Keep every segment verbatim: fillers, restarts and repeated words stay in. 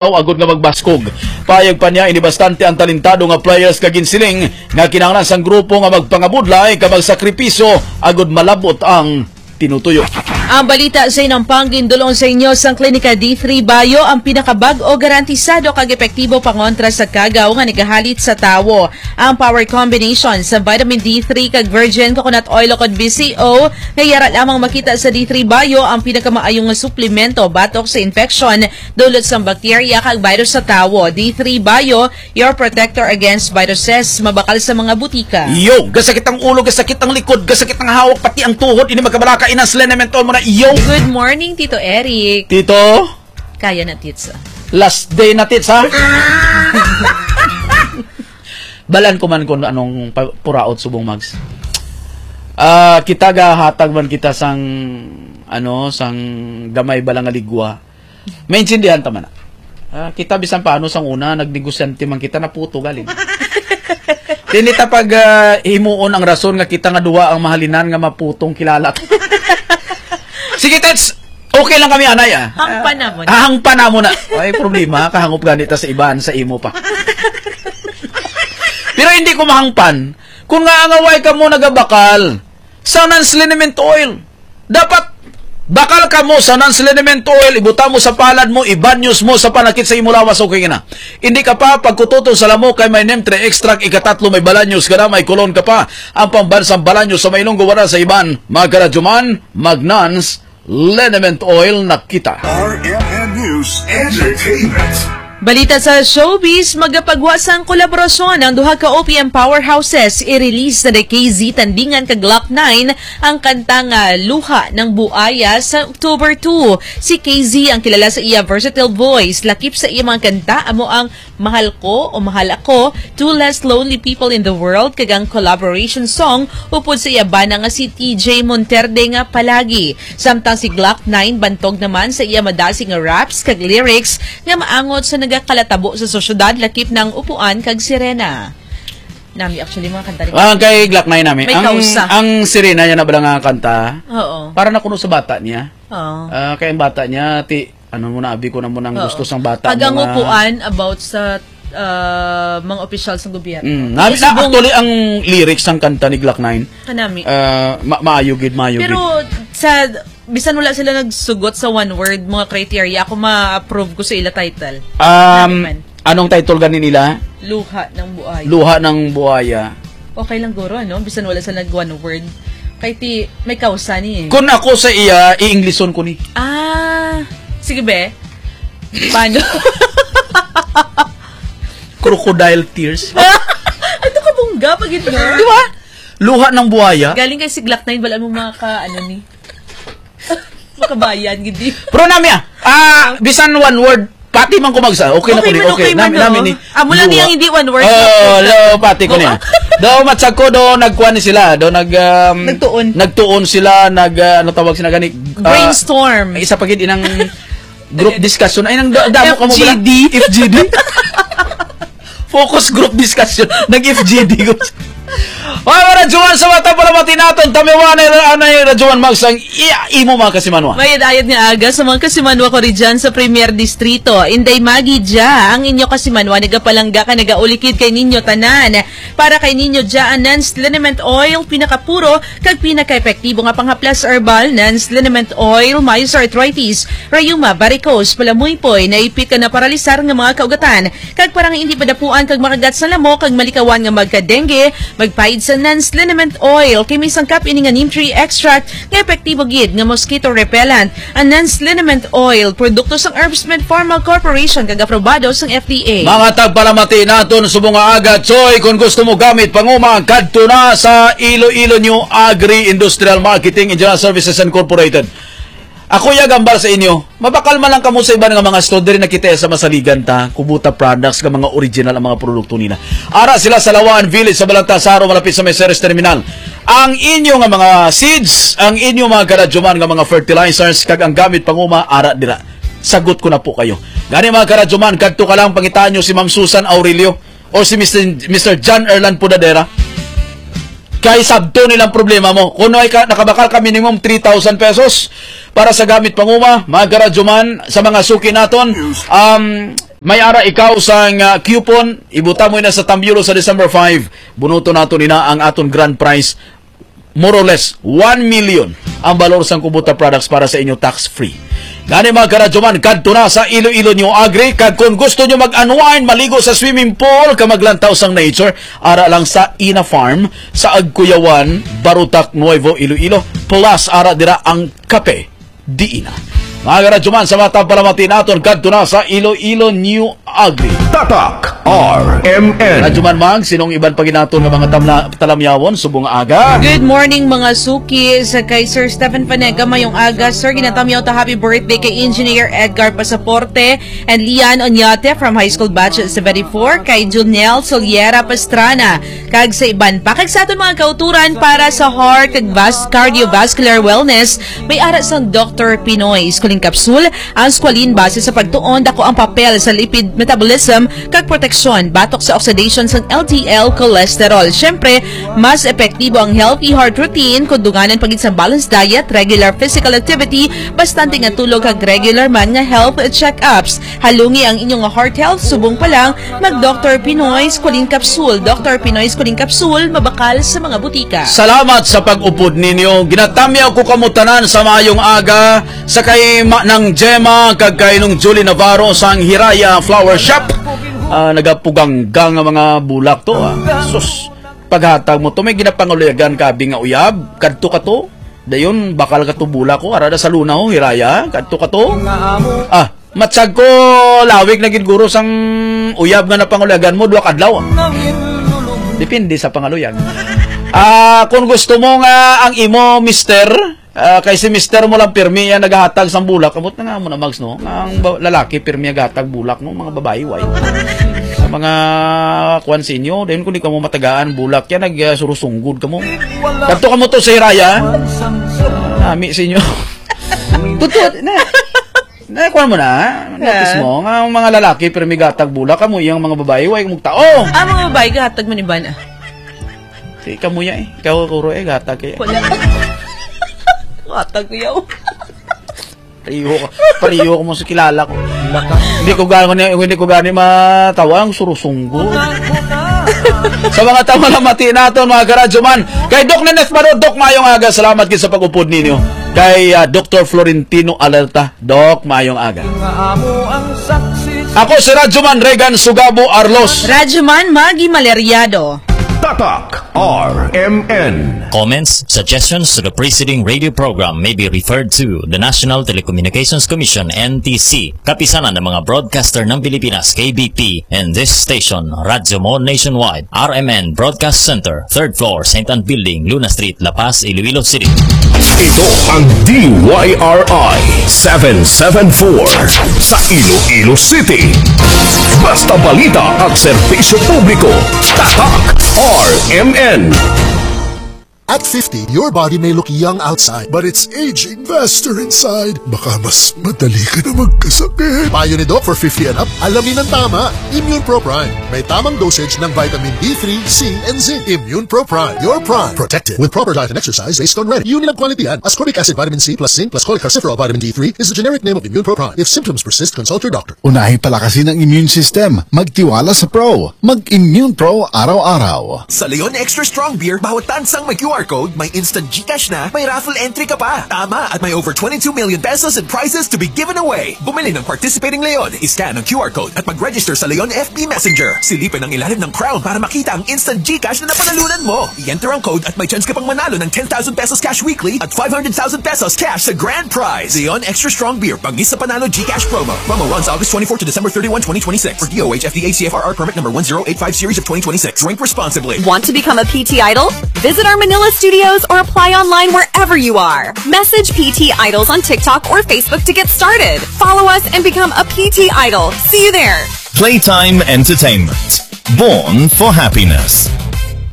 agod nga magbaskog. Payag pa niya, ini bastante ang talentado nga players, kag ginsiling nga kinahanglan sang grupo nga magpangabudlay kag magsakripisyo agod malab-ot ang tinutuyo. Ang balita sa inampang gindul-ong sa inyo sang Klinika D three Bio, ang pinakabag-o, garantisado kag epektibo pangontra sa kagaw nga nagahalit sa tawo. Ang power combination sa vitamin D three kag virgin coconut oil ukon V C O nga yara lamang makita sa D three Bio, ang pinakamaayo nga suplemento batok sa infeksyon dulot sang bakterya kag virus sa tawo. D three Bio, your protector against viruses, mabakal sa mga butika. Yo, gasakit ang ulo, gasakit ang likod, gasakit ang hawak, pati ang tuhod, ini magkabalaka, inas liniment mo na, yo. Good morning, Tito Eric. Tito? Kaya na, Tits, ah. Last day na, Tits, ha? Balan ko man kung anong pa-, puraot subong, Mags. Ah, kita gahatag man kita sang, ano, sang gamay bala nga ligwa. Maintindihan ta man na. Ah, kita bisan paano sang una, nagnegosyante man kita, naputo galing. Dili ta pag, ah, himuon ang rason nga kita nga duha ang mahalinan nga maputong kilala. Sige, Tets, okay lang kami, anay, ah. Hangpan na mo na. Ah, hangpan na mo na. Ay, problema, kahangop gani ta sa iban, sa imo pa. Pero hindi ko mahangpan. Kung nga ang away ka mo nagabakal, sa non-liniment oil. Dapat bakal ka mo sa non-liniment oil, ibuta mo sa palad mo, ibanyos mo sa panakit sa imo lawas, okay na. Hindi ka pa pagkututo sa lamok kay may neem three extract, ikatatlo may balanyos ka na, may kulon ka pa. Ang pambansang balanyos sa mailong guwara sa iban, mga karadyoman, mag-non-liniment oil na kita. R M N News Entertainment. Balita sa showbiz, magapagwa sang kolaborasyon ang duha ka O P M powerhouses. I-release na ni K Z Tandingan kag Glock nine ang kanta nga Luha ng Buaya sa October two. Si K Z ang kilala sa iya versatile voice, lakip sa iya mga kanta amo ang Mahal Ko o Mahal Ako, Two Less Lonely People in the World, kag ang collaboration song upod sa iya bana nga si T J Monterde nga Palagi. Samtang si Glock nine bantog naman sa iya madasig nga raps kag lyrics nga maangot sa nagakalatabo sa sosyedad, lakip na ang Upuan kag Sirena. Nami, actually, mga kanta ni Ah, kay Glock nine nami. May Ang, kausa. ang Sirena niya na bala nga kanta, Oo. para na kuno sa bata niya. Oo. Ah, kay ang bata niya, ti, ano mo na, abi ko na mo nang Oo. gusto sang bata Kag mo ang nga Upuan about sa, ah, mga opisyal sa gobyerno. Mm, nami, Kasi na, subong actually, ang lyrics sang kanta ni Glock nine, Kanami. ah, ma-, maayo gid, maayo Pero gid. sa, bisan wala sila nagsugot sa one word, mga criteria, ako ma-approve ko sa ila title. Um, Nami man. Anong title gani nila? Luha ng Buaya. Luha ng Buaya. Okay lang guro, ano? Bisan wala sa nag one word. Kay ti, may kausa ni eh. Kung ako sa iya, i-Englishon ko ni. Ah, sige be. Paano? Crocodile tears. Ito ka bungga pag ito. Di ba? Luha ng buhaya. Galing kay si Glock nine, wala mo mga ka, ano ni. Makabayan, gidi. Pero nami ah, ah, bisan one word, pati man ko magsa. Okay na ko Okay ni, man, okay. okay Nami, man, nami oh. ni. Amo lang Luha. niyang hindi one word. Oh, lo, pati ko niya. Do, matsag ko, do, nagkuha ni sila. Do, nag, um, Nagtuon. nagtuon sila, nag, ah, ano tawag sila gani? Ah, Brainstorm. Isa pa gid inang group discussion. Ay, nang da-, damo ka mo bala? F G D. F G D. Focus group discussion. Nag-F G D ko. Mga radyoman, sa mata pala mati naton, tamiwa na yung anay radyoman, Mags, ang iya, imo mga kasimanwa. Mayad-ayad nga aga sa mga kasimanwa ko ri dyan sa Premier Distrito. Inday Maggie dya, ang inyo kasimanwa, nagapalangga ka, nagaulikid kay ninyo tanan. Para kay ninyo dya, ang Nans Liniment Oil, pinakapuro, kag pinakaepektibo nga panghaplas herbal, Nans Liniment Oil, maayo sa arthritis, rayuma, varicose, palamuypoy, naipit ka na paralisar nga mga kaugatan, kag para nga hindi padapuan kag makagat sa lamok kag malikawan nga magka-dengue, magpaid sa Nans Liniment Oil, kay may sangkap ini nga neem tree extract nga epektibo gid nga mosquito repellent. Ang Nans Liniment Oil, produkto sang Herbstmed Pharma Corporation kag aprobado sang F D A. Mga tagpalamati naton subong nga aga, Choy, kung gusto mo gamit panguma, kadto na sa Iloilo New Agri Industrial Marketing and General Services Incorporated. Ako ya gambal sa inyo, mabakal man lang kamo sa iban nga mga store, diri na kita sa masaligan ta, Kubota Products, nga mga original ang mga produkto nila. Ara sila sa Lawan Village sa Balagtasaro, malapit sa may Ceres Terminal. Ang inyo nga mga seeds, ang inyo mga karadyoman nga mga fertilizers, kag ang gamit panguma, ara dira. Sagot ko na po kayo. Gani mga karadyoman, kadto ka lang, pangitaan nyo si Ma'am Susan Aurelio o si Mister Mister John Erlan Pudadera. Kay sabto nilang problema mo. Kung ay ka, nakabakal ka minimum three thousand pesos para sa gamit panguma, mga karadyoman, sa mga suki naton, um, May ara ikaw sang, ah, coupon, ibutang mo ina sa Tambulo sa December five. Bunuton nato nina ang aton grand prize. More or less, one million ang balor sang Kubota products para sa inyo tax-free. Gani, mga karadyoman, kadto na sa Iloilo New Agri, kag kung gusto nyo mag-unwind, maligo sa swimming pool, ka maglantaw sang nature, ara lang sa Ina Farm, sa Agcuyawan, Barotac, Nuevo Iloilo, plus ara dira ang kape diin na. Mga karadyoman, sa mga tagpalamati naton, kadto na sa Iloilo New Agri. Tatak R M N. Radyoman Mag, sinong iban pa ginaton nga mga tamla-, talamyawon subong nga aga? Good morning, mga suki. Sa kay Sir Stephen Panega, mayong aga. Sir, ginatamyaw ta happy birthday kay Engineer Edgar Pasaporte and Lian Oñate from High School Batch seventy-four, kay Junel Soliera Pastrana, kag sa iban pa. Kag sa aton mga kauturan para sa heart kag vas-, cardiovascular wellness, may ara sang Doktor Pinoy Squalene Capsule. Ang squalene base sa pagtuon, dako ang papel sa lipid metabolism kag proteksyon batok sa oxidation sang L D L cholesterol. Siyempre, mas epektibo ang healthy heart routine kung dunganan pa gid sa balanced diet, regular physical activity, bastante nga tulog kag regular man nga health check-ups. Halungi ang inyong heart health, subong pa lang, mag Doktor Pinoy Squalene Capsule. Doktor Pinoy Squalene Capsule, mabakal sa mga butika. Salamat sa pag-upod ninyo. Ginatamyaw ko kamo tanan sa maayong aga, sa kay Ma-, Nang Gemma, kag kay Nung Julie Navarro sang Hiraya Flower Shop. Ah, nagapugangga nga mga bulak to, ah. Sus, paghatag mo to, may ginapangaluyagan ka abi nga uyab. Kadto ka to. Dayon, bakal ka to bulak ko. Ara da sa luna, oh, Hiraya. Kadto ka to. Ah, Matsag ko, lawig na gid guro sang uyab nga napangulagan mo, duha ka adlaw. Depende sa pangaluyag. Ah, kung gusto mo nga ang imo mister, ah, kay si mister mo lang pirmi yan naghatag sang bulak, abot na nga mo na, Mags, no? Ang ba-, lalaki pirmi naghatag bulak, no? Mga babae, way. Sa mga kuwan sa inyo, dayon kung di ka mo matagaan bulak yan, nag, ah, surusunggod ka mo. Kadto ka mo to sa Hiraya, ah. Nami sa inyo. Totoo na. Na, kuwan mo na, ha? Notice Ah. mo, nga ang mga lalaki, pero may gatag bulak, kamo iyang mga babae, way mong tao. Ah, mga babae, gahatag man iban, ah. Di, kamo ya, eh. Ikaw, Kuro, eh, gatag kaya. Wala. Gatag ko yaw. Pariho ka, pariho ka mo sa kilala ko. Hindi ko gani, hindi ko gani matawa ang surusunggo. Sa mga tama na mati naton, mga karadyo man. Kay Doc Neneth Maro, Doc, mayong aga. Salamat gid sa pag-upod ninyo. Kay, ah, Doktor Florentino Alerta, Doc, mayong aga. Ako si Radyoman Regan Sugabo Arlos. Radyoman Maggie Maleriado. Tatak R M N. Comments, suggestions to the preceding radio program may be referred to the National Telecommunications Commission, N T C, Kapisanan ng mga Broadcaster ng Pilipinas, K B P, and this station, Radyo Mo Nationwide, R M N Broadcast Center, third floor, Saint Ann Building, Luna Street, La Paz, Iloilo City. Ito ang D Y R I seven seven four sa Iloilo City. Basta balita at serbisyo publiko, Tatak R M N. At fifty, your body may look young outside, but it's aging faster inside. Baka mas madali ka na magkasakit. Payo ni Doc for fifty and up, alamin ang tama. Immune Pro Prime. May tamang dosage ng vitamin D three, C, and zinc. Immune Pro Prime. Your prime. Protected with proper diet and exercise based on ready. Unilab quality yan. Ascorbic acid, vitamin C plus zinc plus cholecalciferol vitamin D three is the generic name of Immune Pro Prime. If symptoms persist, consult your doctor. Unahi palakasin ang immune system. Magtiwala sa Pro. Mag-Immune Pro araw-araw. Sa Leon Extra Strong Beer, bawat tansang may Q R code, may instant GCash na, may raffle entry ka pa. Tama, at may over twenty-two million pesos in prizes to be given away. Bumili ng participating Leon, i-scan ang Q R code at mag-register sa Leon F B Messenger. Silipin ang ilalim ng crown para makita ang instant GCash na napanalunan mo. I-enter ang code at may chance ka pang manalo ng ten thousand pesos cash weekly at five hundred thousand pesos cash sa grand prize. Leon Extra Strong Beer, bangis sa panalo GCash promo. Promo runs August twenty-four to December thirty-one, twenty twenty-six. For D O H F D A C F R R permit number one zero eight five series of twenty twenty-six. Drink responsibly. Want to become a P T Idol? Visit our Manila studios or apply online wherever you are. Message P T Idols on TikTok or Facebook to get started. Follow us and become a P T Idol. See you there. Playtime Entertainment. Born for happiness.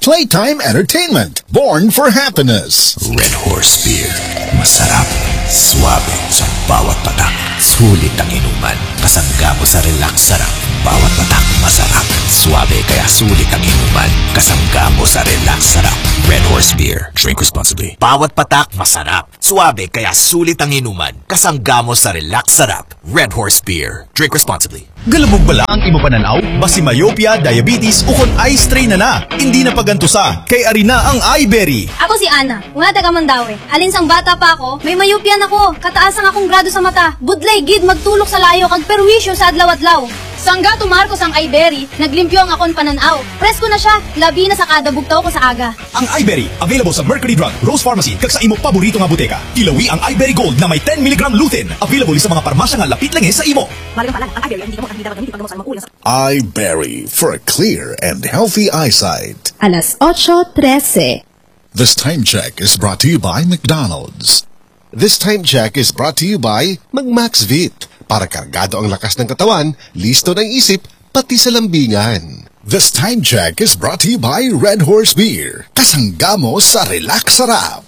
Playtime Entertainment. Born for happiness. Red Horse Beer. Masarap, suabe sa bawat patak. Sulit ang inuman. Kasangga mo sa relax, sarap. Bawat patak, masarap, suabe, kaya sulit ang inuman. Kasangga mo sa Relax Sarap Red Horse Beer. Drink responsibly. Bawat patak masarap, suabe kaya sulit ang inuman. Kasangga mo sa Relax Sarap Red Horse Beer. Drink responsibly. Galubog bala ang imo panan-aw? Basi myopia, diabetes, ukon eye strain na na. Hindi na pagantusa, kay ari na ang iBerry. Ako si Ana, nga taga Mandaue. Alin sang bata pa ako, may myopia na ko. Kataas ang akong grado sa mata. Budlay gid magtulok sa layo kag perwisyo sa adlaw-adlaw. Sangga tumarko sang iBerry, naglimpyo ang akon panan-aw. Presko na siya, labi na sa kada bugtaw ko sa aga. Ang iBerry, available sa Mercury Drug, Rose Pharmacy, kag sa imo paborito nga buteka. Tilawi ang iBerry Gold na may ten milligram lutein. Available sa mga parmasya nga lapit lang sa imo. Malagang paalam, ang iBerry ay hindi gamot at hindi dapat gamitin pag gamot sa anumang uri ng sakit. iBerry for a clear and healthy eyesight. Alas ocho trese. This time check is brought to you by McDonald's. This time check is brought to you by Mag-Maxvit. Para kargado ang lakas ng katawan, listo na ang isip, pati sa lambingan. This time check is brought to you by Red Horse Beer. Kasangga mo sa Relax Sarap.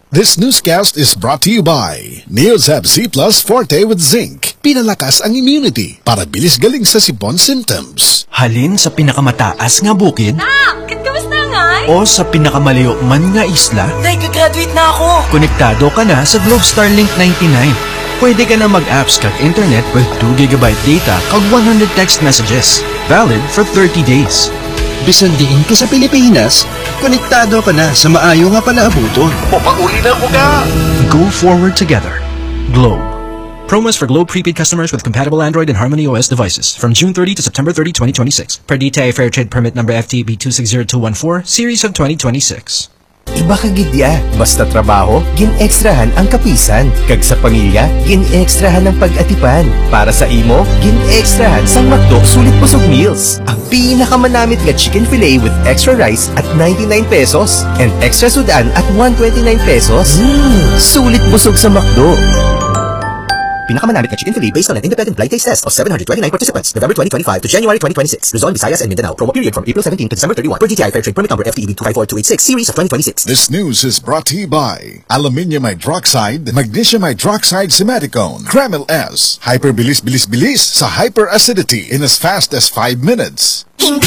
This newscast is brought to you by Neozep Z Plus Forte with Zinc. Pinalakas ang immunity para bilis galing sa sipon symptoms. Halin sa pinakamataas nga bukid Nak! Kamusta ngay? O sa pinakamalayo man nga isla, Nay, gagraduate na ako! Konektado ka na sa Globe Starlink ninety-nine. Pwede ka na mag-apps kag internet with two gigabyte data kag one hundred text messages, valid for thirty days. Bisan diin ka sa Pilipinas, konektado ka na sa maayo nga palaabuton. Papauli na ko ka! Go forward together. Globe. Promos for Globe prepaid customers with compatible Android and Harmony O S devices from June thirty to September thirty, twenty twenty-six, per D T I Fair Trade Permit number F T B two six zero two one four, series of twenty twenty-six. Iba ka gid ya. Basta trabaho, gin-extrahan ang kapisan. Kag sa pamilya, gin-extrahan ang pag-atipan. Para sa imo, gin-extrahan sang McDo Sulit Busog Meals. Ang pinakamanamit nga chicken fillet with extra rice at ninety-nine pesos and extra sud-an at one twenty-nine pesos. Mm, sulit busog sa McDo. Pinakamanamit nga chicken fillet based on an independent blind taste test of seven hundred twenty-nine participants, November twenty twenty-five to January twenty twenty-six. Luzon, Visayas, and Mindanao. Promo period from April seventeen to December thirty-one, per D T I Fair Trade Permit Number F T E B two five four two eight six, series of twenty twenty-six. This news is brought to you by aluminium hydroxide, magnesium hydroxide simeticone, Kremil S. Hyperbilis, bilis, bilis sa hyperacidity in as fast as five minutes. Hindi